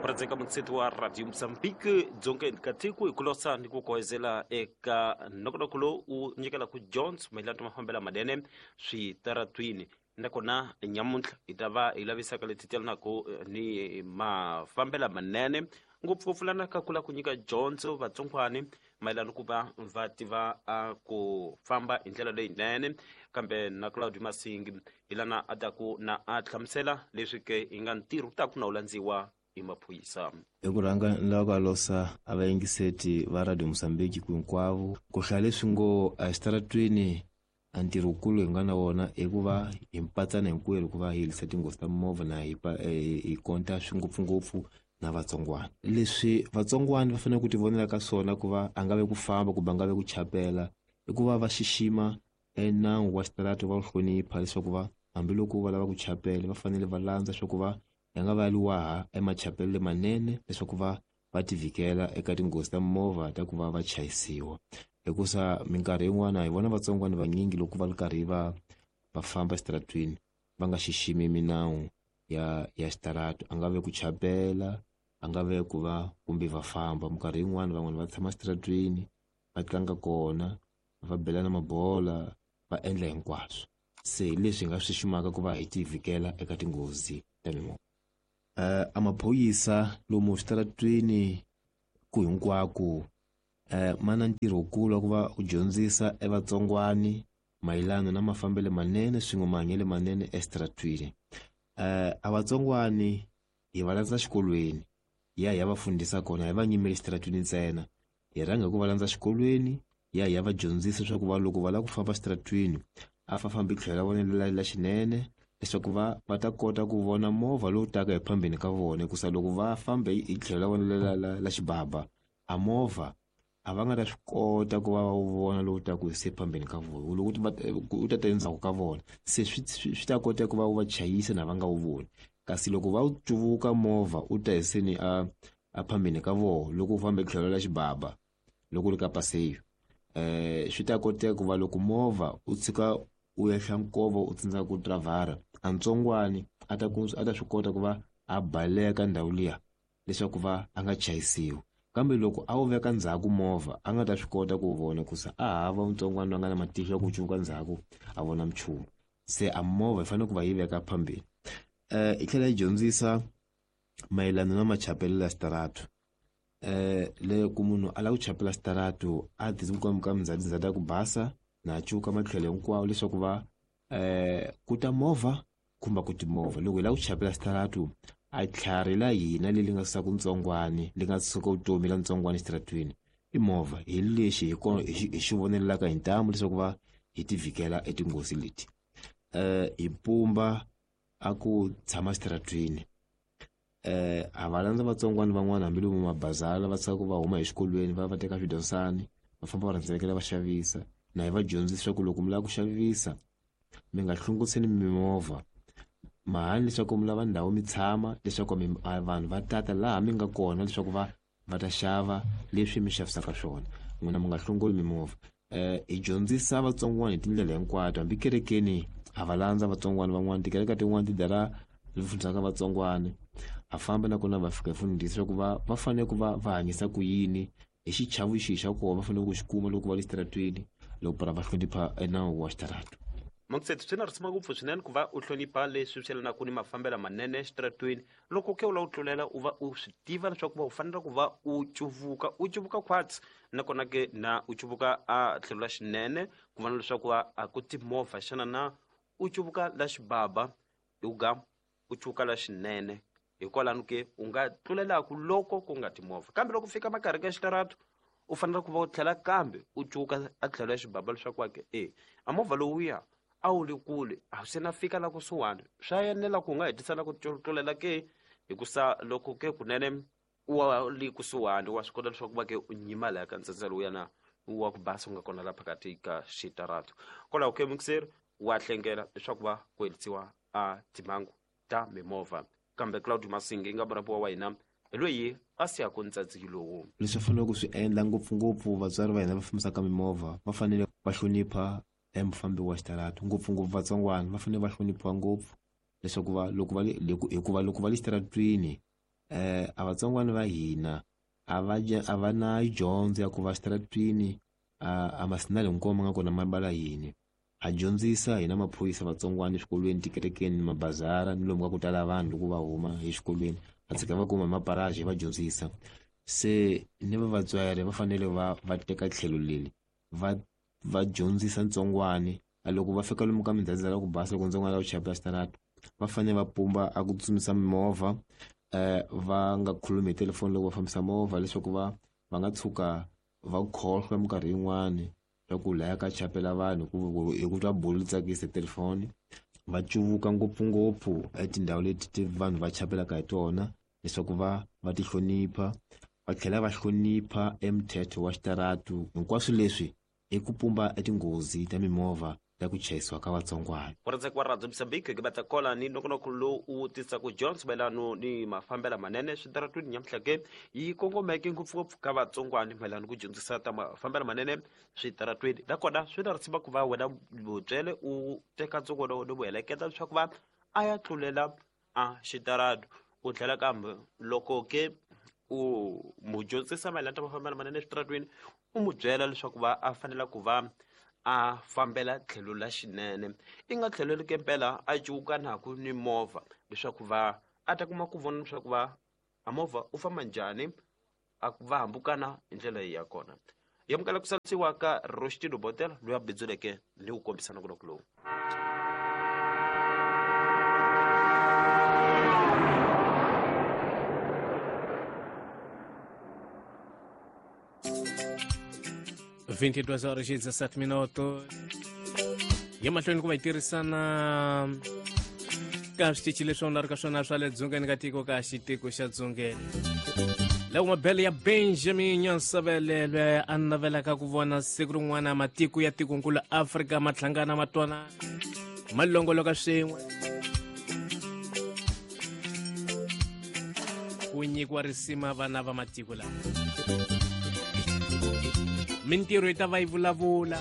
Murhandzeka mutseti wa Radio Mozambique dzongeni ka tiko, hi ku losa ni ku kohezela eka nongonoko lowu wu nyikelaka dyondzo mayelana na mafambelo manene switaratwini. Nakona nyamuntlha hi ta va hi lavisaka leti telanaka ni mafambelo manene, ngopfungopfu lana ka ku lava ku nyika dyondzo vatsongwani mayelana ku va va tiva a ku famba hi ndlela leyinene. Kambe na Claudio Masingi hi lana a taku na a hlamusela leswi ke hi nga ntirho ku taku na wu landziwa hi maphorisa. Hi ku rhanga ni lava ku alosa a vayingiseti va Radio Mozambique ku hinkwavo ku hlaya leswi ngo exitaratweni a ntirho wukulu hi nga na wona i ku va hi mpatsana hinkwerhu ku va hi herisa tinghozi ta mimovha na hi hi konta swi ngopfungopfu na vatsongwana. Leswi vatsongwana va fanele ku ti vonela ka swona ku va a nga ve ku famba kumbe a nga ve ku chapela i ku va va xixima e nawu wa xitarata, va wu hlonipha, leswaku va hambiloko va lava ku chapela va fanele va landza swa ku va ya nga va liwaha emachapelo lemanene, leswaku va va ti vhikela eka tinghozi ta mimovha ta ku va va chayisiwa. Hikusa minkarhi yin'wana hi vona vatsongwana vanyingi loko va ri karhi va va famba exitaratweni va nga xiximi minawu ya xitarata, a nga ve ku chapela, a nga ve ku va kumbe va famba. Minkarhi yin'wana van'wani va tshama exitaratweni va tlanga kona, va belana mabola, va endla hinkwaswo. Se hi leswi hi nga swi xiximaka ku va hi ti vhikela eka tinghozi ta mimovha. A maphorisa lomu switaratweni ku hinkwako ma na ntirho wukulu wa ku va u dyondzisa evatsongwani mayelana na mafambelo manene swin'we mahanyelo manene exitaratweni. A vatsongwani hi va landza xikolweni, hi ya hi ya va fundisa kona, hi va nyimeli exitaratweni ntsena. Hi rhanga hi ku va landza xikolweni, hi ya hi ya va dyondzisa leswaku va loko va lava ku famba exitaratweni a fa fambi tlhelo ra vona la xinene, leswaku va va ta kota ku vona movha lowu taka hi phambeni ka vona. Hikusa loko va famba hi tlhelo ra vona la xibaba, a movha a va nga ta swi kota ku va va wu vona lowu taka hi se phambeni ka vona, loko u ta ta endzhaku ka vona, se swi ta kota ku va wu va chayisa na va nga wu voni. Kasi loko va wu cuvuka movha u ta hi seni a phambeni ka vona, loko u famba hi tlhelo ra xibaba, loko u ri ka paseyo, swi ta koteka ku va loko movha u tshika u ehla nkova u tsandzeka ku driver, a ntsongwani a ta ku a ta swi kota ku va a baleka ndhawu liya leswaku va a nga chayisiwi. Kambe loko a wu veka ndzhaku movha a nga ta swi kota ku vona, hikusa a hava ntsongwana loyi a nga na matihlo ya ku cuvuka ndzhaku a vona minchumu. Se a movha yi fanele ku va yi veka phambeni. Yi tlhela yi dyondzisa mayelana na machapelo ya xitarata. Le ku munhu a lava ku chapela xitarata a ti ka mindzhawu ya ku basa na cuka matlhelo hinkwawo, leswaku va ku ta movha kumbe ku timovha. Loko hi lava ku chapela xitarata, a tlhari la hina leri nga susaka ntsongwani, li nga susaka vutomi la ntsongwani exitaratweni i movha. Hi lexi hi kona hi xi vonelaka hi ntamu leswaku va hi ti vhikela etinghozi leti. Hi pumba a ku tshama exitaratweni, a va landza vatsongwana van'wana hambi lomu mabazala va tshika ku va huma exikolweni va va teka swidyondzani va famba va rhendzelekela va xavisa. Na hi va dyondzisa leswaku loko mi lava ku xavisa mi nga hlunguriseni mimovha, mahani leswaku mi lava ndhawu mi tshama, leswaku vanhu va tata laha mi nga kona leswaku va va ta xava leswi mi xavisaka swona, n'wina mi nga hlongoli mimovha. Hi dyondzisa vatsongwana hi tindlela hinkwato, hambi kerekeni ha va landza vatsongwana van'wana, tikereke tin'wana ti dara ri fundisaka vatsongwana, ha famba nakona va fika hi fundisa leswaku va va fanele ku va va hanyisa ku yini, hi xichavo xihi xa kona va fanele ku xi kuma loko va le xitaratweni, loko para va hlonipha nawu wa xitarata. Mangutsetu, swi na risima ngopfu swinene ku va u hlonipha leswi swi yelanaka ni mafambelo manene exitaratweni. Loko ke u lava ku tlulela, u va u swi tiva leswaku va u fanele ku va u cuvuka, u cuvuka khwatsi, nakona ke na u cuvuka a tlhelo la xinene ku vona leswaku a ku timovha xana na u cuvuka la xibaba, u ga u cuvuka la xinene. Hikwalano ke u nga tlulelaku loko ku nga timovha. Kambe loko fika makarhi ka xitarata, u fanele ku va u tlhela kambe u cuvuka a tlhelo ya xibaba leswaku wa ke e a movha lowuya a wu le kule, a se na fika la kusuhani, swa enela ku u nga hetisa na ku tlulela ke. Hikusa loko ke kunene u wa le kusuhani, wa swi kota leswaku va ke u nyima laya ka ntsandza lowuya na wa ku basa u nga kona la phakathi ka xitarata. Kwalaho ke mukiseri wa hlengela leswaku va ku herisiwa a timhangu ta mimovha. Kambe Claudio Masingi nga murapiwa wa hina hi loyi a siyaka ntsatsi lowu. Leswi va faneleke ku swi endla ngopfungopfu vatswari va hina va fambisaka mimovha, va fanele va hlonipha mufambi wa xitarata, ngopfungopfu vatsongwana va fanele va hloniphiwa ngopfu, leswaku va loko va le hikuva loko va le xitaratweni A vatsongwana va hina a va na dyondzo ya ku va xitaratwini a masinali hinkwawo ma nga kona ma bala yini. Ha dyondzisa hina maphorisa vatsongwana eswikolweni, tikerekeni, mabazara ni lomu ka ku tala vanhu loko va huma exikolweni, va tshika va kuma hi maparaji va dyondzisa. Se ni va vatswari va fanele va teka tlhelo leri va dyondzisa ntsongwani. Loko va fika lomu ka mindzhadza ya ku basa, loko ntsongwana la ku chayela xitarata, va fanele va pumba a ku tsutsumisa mimovha, va nga khulumi hi telefoni loko va fambisa movha, leswaku va nga tshuka va khohlwa minkarhi yin'wani swa ku laya ka chapela vanhu hi ku twa bulu tsakisa telefoni. Va cuvuka ngopfungopfu etindhawu leti vanhu va chapelaka hi tona, leswaku va ti hlonipha, va tlhela va hlonipha emthetho wa xitaratu. Hinkwaswo leswi i ku pumba etinghozi ta mimovha ta ku chayisiwa ka vatsongwana. Murhandzeki wa Radio Mozambique ke batla kola ni nongonoko lowu wu tisaka dyondzo mayelano ni mafambelo manene switaratwini nyamuhla ke yi kongomeke ngopfungopfu ka vatsongwana mayelano ku dyondzisa ta mafambelo manene switaratwini. Nakona swi na risima ku va wena mutswele u teka ntsongwana wa wena u heleketa leswaku va a ya tlulela a xitaratu. U tlhela kambe loko ke u mu dyondzisa mayelana ta mafambelo manene eswitaratwini, u mu byela leswaku va a fanela ku va a fambela tlhelo la xinene, i nga tlhelo ke mpela a cuwukanaku ni movha, leswaku va a ta kuma ku vona leswaku va a movha u famba njhani, a va hambukana hi ndlela ya kona. Yamukela ku salisiwa ka Rostino Botel loyi a bindzuleke ni ku kombisa nongonoko lowu. 22 horas e 17 minutos. Ya mahlweni ku va yi tirhisana ka switichi leswi onha ri ka swona swa le dzongeni ka tiko ka xitiko xa dzongeni. Loko mabele ya Benjamin Nyansavele loyi a navelaka ku vona siku rin'wana matiko ya tikonkulu Afrika ma hlangana ma twanana ma longoloka swin'we, ku nyikiwa risima vana va matiko lawa, mintirho yi ta va yi vulavula.